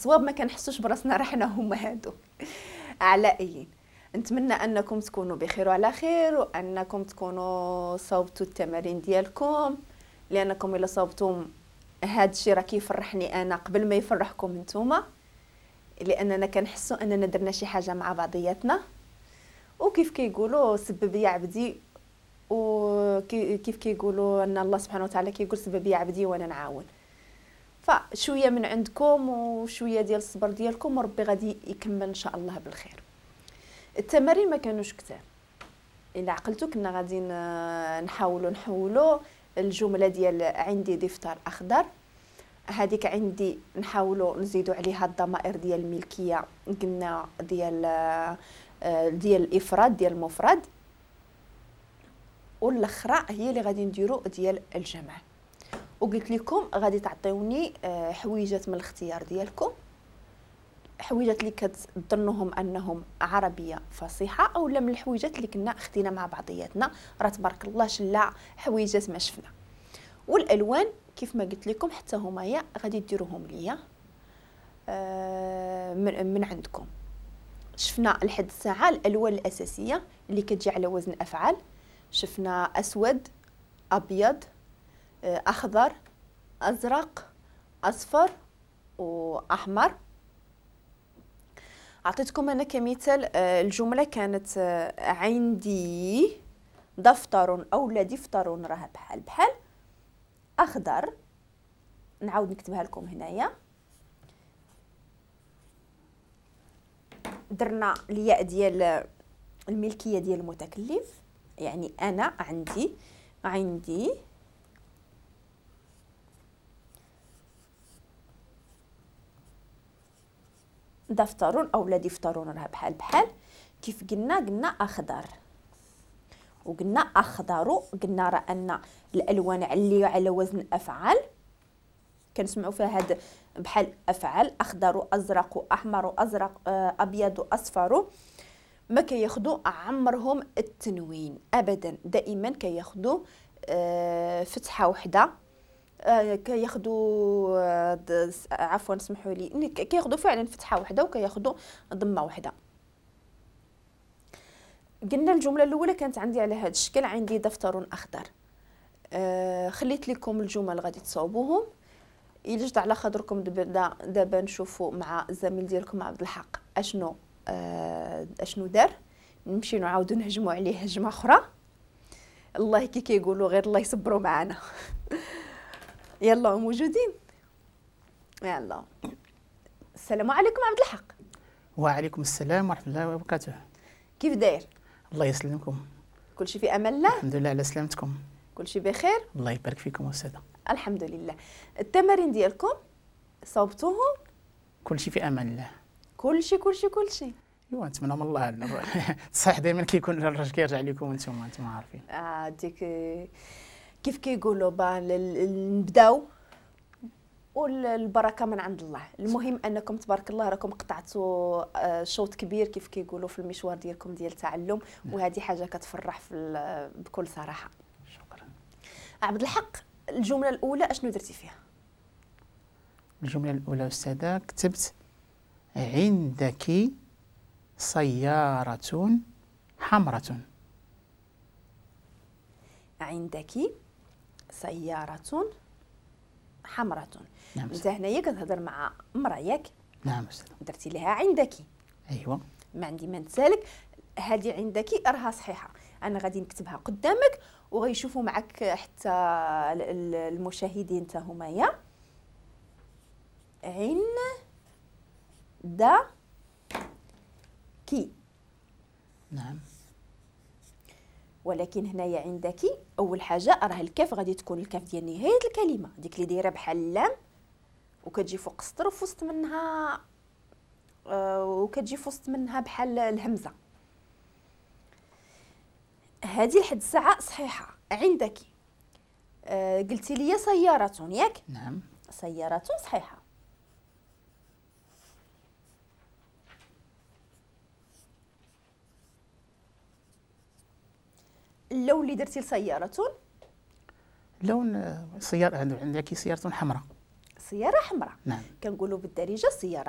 الصواب ما كنحسوش براسنا راه حنا هما هادو. على اي، نتمنى انكم تكونوا بخير وعلى خير، وانكم تكونوا صوبتوا التمارين ديالكم، لانكم الا صوبتم هاد الشيء راه كيفرحني انا قبل ما يفرحكم نتوما، لاننا كنحسوا اننا درنا شي حاجة مع بعضياتنا. وكيف كيقولوا سبب يا عبدي، وكيف كيقولوا ان الله سبحانه وتعالى كيقول سبب يا عبدي وانا نعاون. فشوية من عندكم وشوية ديال الصبر ديالكم وربي غادي يكمل ان شاء الله بالخير. التمارين ما كانوش كتار، الا عقلتو كنا غادي نحاولوا نحولوا الجملة ديال عندي دفتر اخضر، هذيك عندي نحاولوا نزيدوا عليها الضمائر ديال الملكية، قلنا ديال الافراد ديال المفرد، والاخرى هي اللي غادي نديرو ديال الجمع. وقلت لكم غادي تعطيوني حويجات من الاختيار ديالكم، حويجات اللي كتظنوهم انهم عربية فصيحة او لا من الحويجات اللي كنا خدينا مع بعضياتنا، راه تبارك الله شلا حويجات ما شفنا. والالوان كيف ما قلت لكم حتى هما يا غادي ديروهم ليا من عندكم. شفنا لحد الساعة الالوان الاساسية اللي كتجي على وزن افعال، شفنا اسود، ابيض، اخضر، ازرق، اصفر واحمر. اعطيتكم انا كمثال الجملة كانت عندي دفتر او لا دفتر، راه بحال بحال اخضر. نعاود نكتبها لكم هنايا. درنا الياء ديال الملكية ديال المتكلم، يعني انا عندي دفتر او لا دفتر، راه بحال بحال. كيف قلنا اخضر وقلنا اخضر، قلنا راه ان الالوان اللي على وزن افعال كنسمعوا فيها هاد بحال افعال، اخضر ازرق احمر ازرق ابيض اصفر، ما كياخذوا عمرهم التنوين ابدا، دائما كياخذوا فتحه وحده، كياخذوا عفوا سمحوا لي، كياخذوا فعلا فتحه وحده وكياخذوا ضمه وحده. قلنا الجملة الاولى كانت عندي على هذا الشكل، عندي دفتر اخضر. خليت لكم الجمل غادي تصاوبوهم. الا جات على خاطركم دابا نشوفوا مع الزميل ديالكم عبد الحق اشنو دار، نمشي نعاودو نهجموا عليه هجمة اخرى. الله كي كيقولوا غير الله يصبروا معنا. يلا موجودين، يلا. السلام عليكم عبد الحق. وعليكم السلام ورحمة الله وبركاته. كيف داير؟ الله يسلمكم. كلشي في امان الله؟ الحمد لله على سلامتكم. كلشي بخير؟ الله يبارك فيكم استاذه. الحمد لله. التمارين ديالكم صوبتوهم؟ كلشي في امان الله. كلشي كلشي كلشي. ايوا نتمنى من الله الصحيح دائما كيكون الرجل كيرجع لكم انتم عارفين. ديك كيف كيقولوا نبداو والبركة من عند الله. المهم انكم تبارك الله راكم قطعتوا شوط كبير كيف كيقولوا في المشوار ديالكم ديال التعلم، وهذه حاجة كتفرح بكل صراحة. شكرا. عبد الحق، الجملة الاولى اشنو درتي فيها؟ الجملة الاولى استاذه كتبت عندك سيارة حمراء. عندك سيارة حمراء. نعم. انت هنايا كتهضر مع امرأة ياك؟ نعم أستاذ. درتي لها عندك. ايوا. ما عندي ما نتسالك، هذه عندك راها صحيحة. انا غادي نكتبها قدامك وغيشوفوا معك حتى المشاهدين حتى همايا. عند كي. نعم. ولكن هنايا عندك اول حاجة راه الكاف غادي تكون الكاف ديال نهاية الكلمة، ديك اللي دايرة بحال اللام وكتجي فوق السطر وفي وسط منها وكتجي في وسط منها بحال الهمزة. هذه لحد الساعة صحيحه. عندك قلتي لي سيارة ياك؟ نعم. سيارة صحيحه. اللون اللي درتي لسيارة؟ لون سيارة، عندك سيارة حمراء. سيارة حمراء. نعم. كنقولوا بالدارجة سيارة